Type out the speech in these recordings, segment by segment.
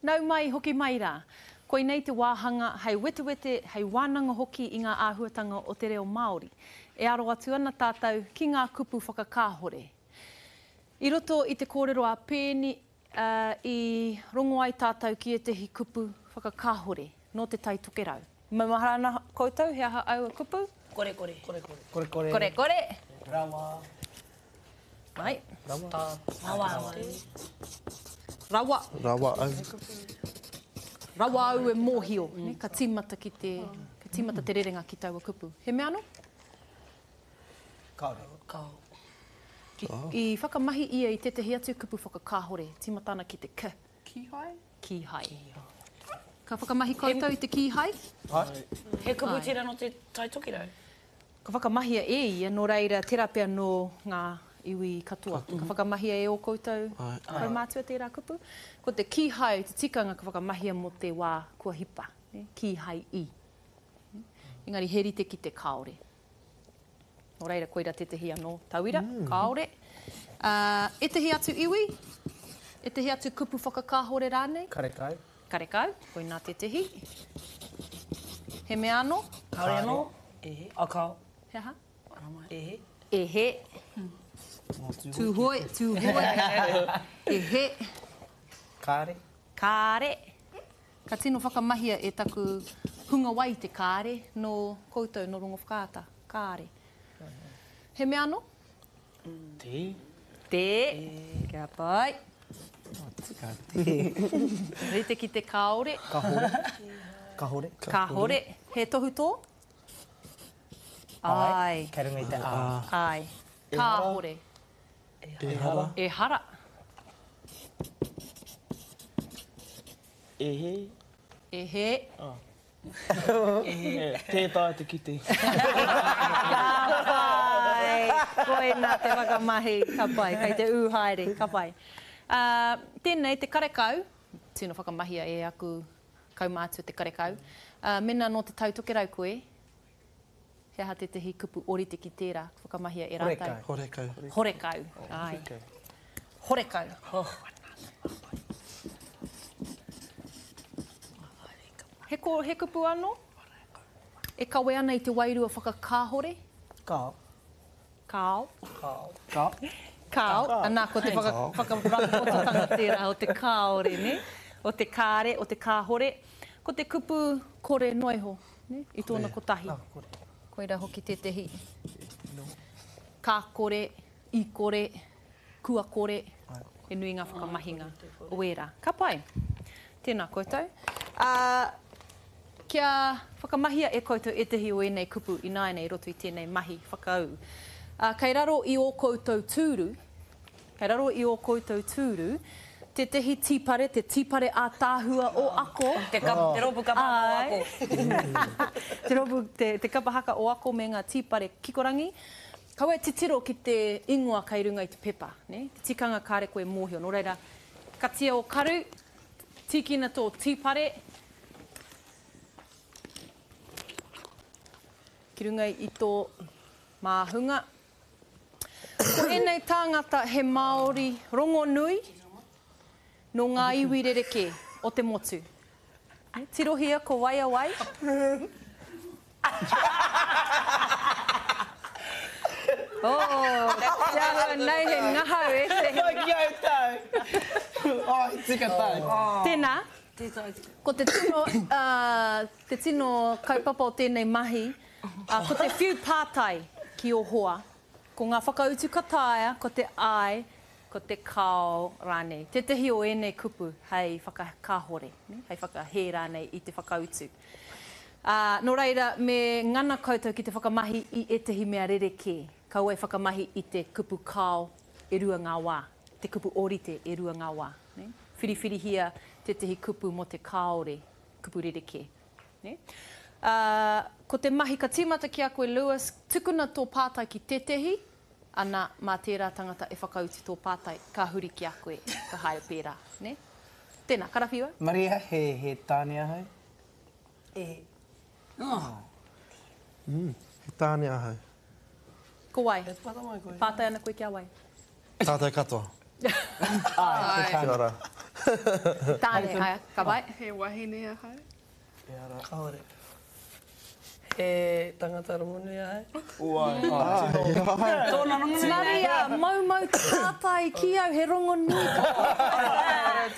Nau mai, hoki mai rā. Koinei te wāhanga hei wetewete, hei wānanga hoki i ngā āhuatanga o te reo Māori. E aro atu ana tātou ki ngā kupu whakakāhore. I roto i te kōrero a Peeni, i rongo ai tātou ki ētahi kupu whakakāhore nō Te Tai Tokerau. Maumahara ana koutou he aha aua kupu? Korekore. Korekore. Korekore. Korekore. Rawa. Mai. Rawa. Rawa. Rawa. Rawa au. Rawa au e mōhio. Mm. Ka tīmata ki te, ka tīmata te rerenga ki taua kupu. He mea anō? Kāore. Kao. I, i whakamahi ia i tētahi atu kupu whakakāhore, tīmata ana ki te k. Kīhai? Kīhai. Ka whakamahi koutou i te kīhai? Ai. He kupu tērā nō te Tai Tokerau? Ka whakamahia e ia, nō reira, tērā pea nō ngā iwi katoa. Ka whakamahia e ō koutou kaumātua tērā kupu. Ko te kīhai te tikanga ka whakamahia mō te wā kua hipa, kīhai i. Engari he rite ki te kāore. Nō reira, koira tētehi anō tauira, kāore. Ētehi atu iwi, ētehi atu kupu whakakāhore rānei? Karekau. Karekau, koinā tētehi. He mea anō? Kāore anō. E he. A kao. He aha? E he. E he. Tūhoe, Tūhoe. E he. Kāre. Kāre. Ka tino whakamahia e taku hungawai te kāre nō koutou nō Rongowhakaata. Kāre. He mea anō? Tē. Tē. Kia pai. Tika, tē. Rite ki te kāore. Kahore. Kahore. Kahore. He tohutō? Āe. Kei runga i te ā. Āe. Kāhore. Ehara. Ehara. E hē. E hē. Tē taea te kite. Ka pai! Koina te whakamahi. Ka pai. Kei te ū haere. Ka pai. Tēnei te karekau, tino whakamahia e aku kaumātua te karekau. Mēnā nō Te Tai Tokerau koe, he aha tētehi kupu ōrite ki tērā ka whakamahia e rātou? Horekau. Horekau. Āe. Horekau. He ko, he kupu anō? E kawe ana i te wairua whakakāhore? Kāo. Kāo. Kāo. Kāo. Kāo. Anā, ko te whaka, whakarāpopototanga tērā o te kāore, nē? O te kāre, o te kāhore. Ko te kupu kore noa iho, nē? I tōna kotahi. Koirā hoki tētehi. Ka kore, i kore, kua kore, he nui ngā whakamahinga o ērā. Ka pai. Tēnā koutou. Ā, kia whakamahia e koutou ētahi o ēnei kupu ināianei i roto i tēnei mahi whakaū. Ā, kei raro i ō koutou tūru, kei raro i ō koutou tūru, tētahi tīpare, te tīpare ātaahua o Ako. Te kapa, te rōpū kapa haka o Ako. Te rōpū, te, te kapa haka o Ako me ngā tīpare kikorangi. Kaua e titiro ki te ingoa kei runga i te pepa, nē? Te tikanga kāre koe e mōhio. Nō reira, katia ō karu, tīkina tō tīpare ki runga i tō māhunga. Ko ēnei tāngata he Māori rongonui nō ngā iwi rerekē o te motu. Tirohia ko wai a wai. Oh, te āhua nei he ngahau e te. Pai ki au tau. Oh, he tika tau. Tēnā, ko te tino, te tino kaupapa o tēnei mahi, ko te whiu pātai ki ō hoa. Ko ngā whakautu ka taea, ko te āe, ko te kāo rānei. Tētahi o ēnei kupu hei whakakāhore, hei whakahē rānei i te whakautu. Ā, nō reira, me ngana koutou ki te whakamahi i ētahi mea rerekē. Kaua e whakamahi i te kupu kāo e rua ngā wā, te kupu ōrite e rua ngā wā. Whiriwhirihia tētahi kupu mō te kāore, kupu rerekē. Nē? Ā, ko te mahi ka tīmata ki a koe Lewis, tukuna tō pātai ki tētehi, ana, mā tērā tangata e whakautu tō pātai, ka huri ki a koe, ka haere pērā. Nē? Tēnā, karawhiua. Maria, he, he tāne ahau? E. Mm, he tāne ahau. Ko wai? E pātai mai koe. Pātai ana koe ki a wai? Tātou katoa. Āe, he tāne. Kia ora. Tāne, āe, ka pai. He wahine ahau. Kāore. He tangata rongonui ahau. Tōna rongonui nei. Maria, moumou te pātai ki au, he rongonui katoa.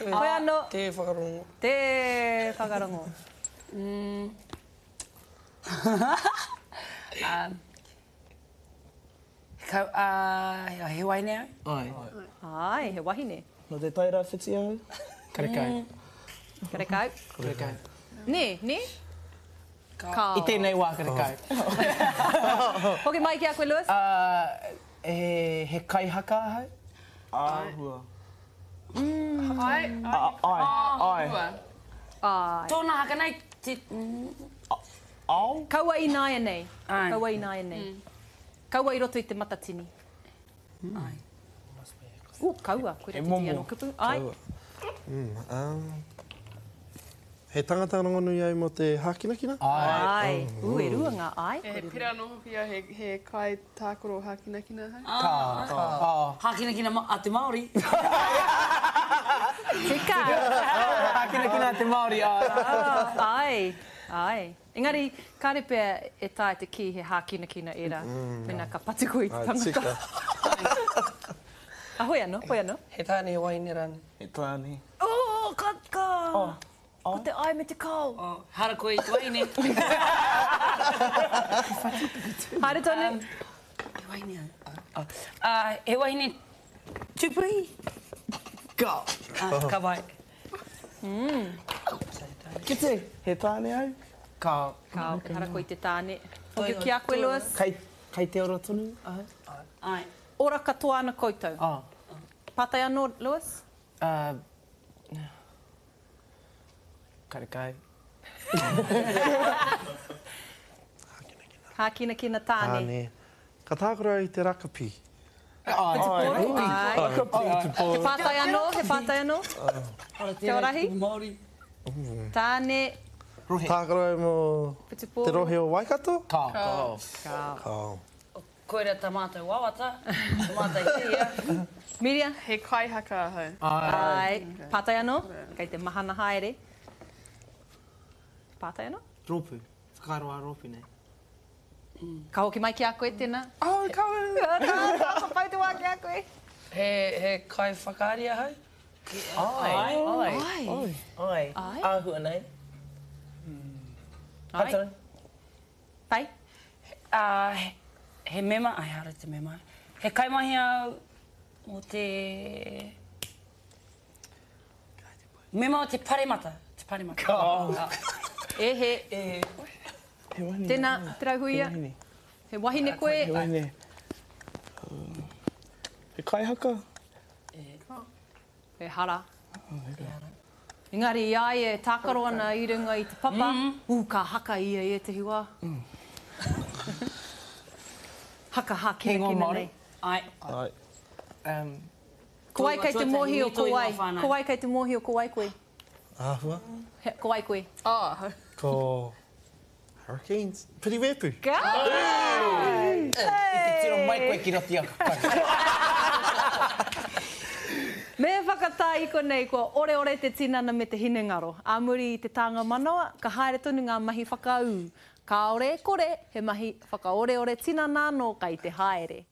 Koe anō. Tē whakarongo. Tē whakarongo. Kau, ā, he wahine au? Āe. Āe, he wahine. Nō Te Tai Rāwhiti ahau? Karekau. Karekau. Karekau. Nē, nē? Kāo. I tēnei wā karekau. Hoki mai ki a koe, Lewis. He, he kaihaka ahau? Āhua. Āe. Āe. Āe. Āe. Tōna haka nei, te. Ao? Kaua ināianei. Āe. Kaua ināianei. Kaua i roto i te matatini. Āe. Ooh, kaua, koira tētehi anō kupu. Āe. He tangata rongonui au mō te hākinakina? Āe. Ooh, e rua ngā āe. He pera anō hoki au, he kai tākaro hākinakina ahau. Ka. Ka. Hākinakina a te Māori. Tika. Hākinakina a te Māori, āe. Āe, āe. Engari, kāre pea e taea te kī he hākinakina ērā, mēnā ka patu koe i te tangata. A, hoi anō, hoi anō. He tāne, he wahine rānei. He tāne. Oh, ka, ka. Ko te ai me te kao. Oh, hara koe i te wahine. Haere tonu. He wahine au. Oh. He wahine tūpuhi? Ka. Ka pai. Kite, he tāne au? Ka. Ka, ehara koe i te tāne. Hoki ki a koe, Lewis. Kei, kei te ora tonu ahau? Āe. Ora katoa ana koutou. Ah. Pātai anō, Lewis? Karekau. Hākinakina tāne. Tāne. Ka tākaro au i te rakapi. Āe. Āe. He pātai anō, he pātai anō? Te Orahi? Tāne. Rohe. Tākaro au mō te rohe o Waikato? Kao. Kao. Kao. Koira tā mātou wawata, tā mātou hiahia. Miria? He kaihaka ahau. Āe. Pātai anō? Kei te mahana haere. Pātai anō? Rōpū. Whakaaro ā-rōpū nei. Ka hoki mai ki a koe tēnā. Oh, ka. Ka pai te wā ki a koe. He, he kaiwhakaari ahau? Āe. Āe. Āe. Āe. Āhua nei. Āe. Pai tonu. Pai. Ā, he mema, āe, ehara te mema. He kaimahi au mō te Mema o te paremata. Te paremata. Ka. E he. E he. He wahine. Tēnā, Te Rauhuia. He wahine. He wahine koe. He wahine. He kaihaka? Ehara. Engari i a ia e tākaro ana i runga i te papa, ū, ka haka ia i ētehi wā. Haka hākinakina nei. Ai. Ai. Ko wai kei te mōhio ko wai? Ko wai kei te mōhio ko wai koe? Āhua. Ko wai koe? Oh. Ko Hurricanes. Piri Wepu. Ka! I te tiro mai koe ki roto i aku kau. Me whakatā i konei kua oreore te tinana me te hinengaro. Ā muri i te tānga manawa, ka haere tonu ngā mahi whakaū. Kāore e kore, he mahi whakaoreore tinana anō kai te haere.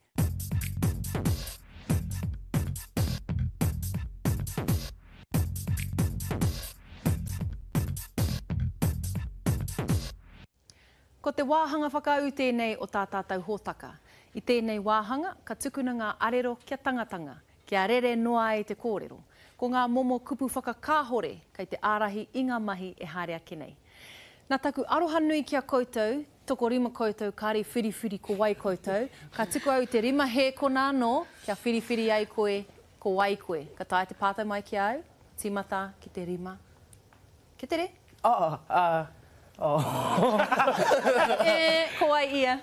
Ko te wāhanga whakaū tēnei o tā tātou hōtaka. I tēnei wāhanga, ka tukuna ngā arero kia tangatanga, kia rere noa ai te kōrero. Ko ngā momo kupu whakakāhore kei te ārahi i ngā mahi e haere ake nei. Nā taku aroha nui ki a koutou, tokorima koutou kāre i whiriwhiri ko wai koutou, ka tuku au i te rima hēkona anō kia whiriwhiri ai koe ko wai koe. Ka taea te pātai mai ki a au, tīmata ki te rima. Kia tere! Oh, uh, oh. E, ko wai ia?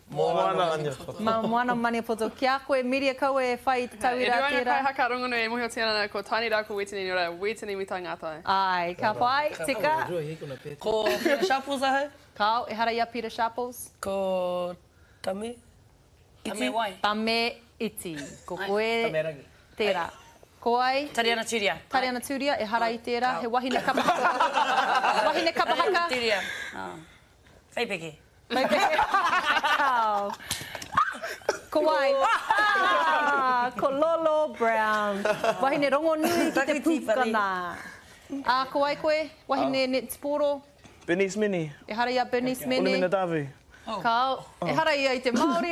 Moana Maniapoto. Ma Moana Maniapoto. Ki a koe, Miria, kaua e whai i te tauira E rua ngā tērā. kaihaka rongonui e mōhiotia ana ko Tiny rā ko Wetini nō reira, Wetini Mitai Ngātai. Āe, ka pai, tika. Ko Peter Sharples ahau. Kāo, ehara i a Peter Sharples. Ko Tame Iti. Tame wai? Tame Iti. Ko koe Tame Rangi. tērā. Ko wai? Tariana Turia. Tariana Turia, ehara i tērā, he wahine kapa haka. Wahine kapa haka. Tariana Turia. Whaipeke. Whaipeke. Kao. Ko wai? Ah, ko Lolo Brown. Wahine rongonui ki te pūkana. Ā, ko wai koe? Wahine netipōro? Bernice Mene. Ehara i a Bernice Mene. Olimina Davu. Kao. Ehara ia i te Māori.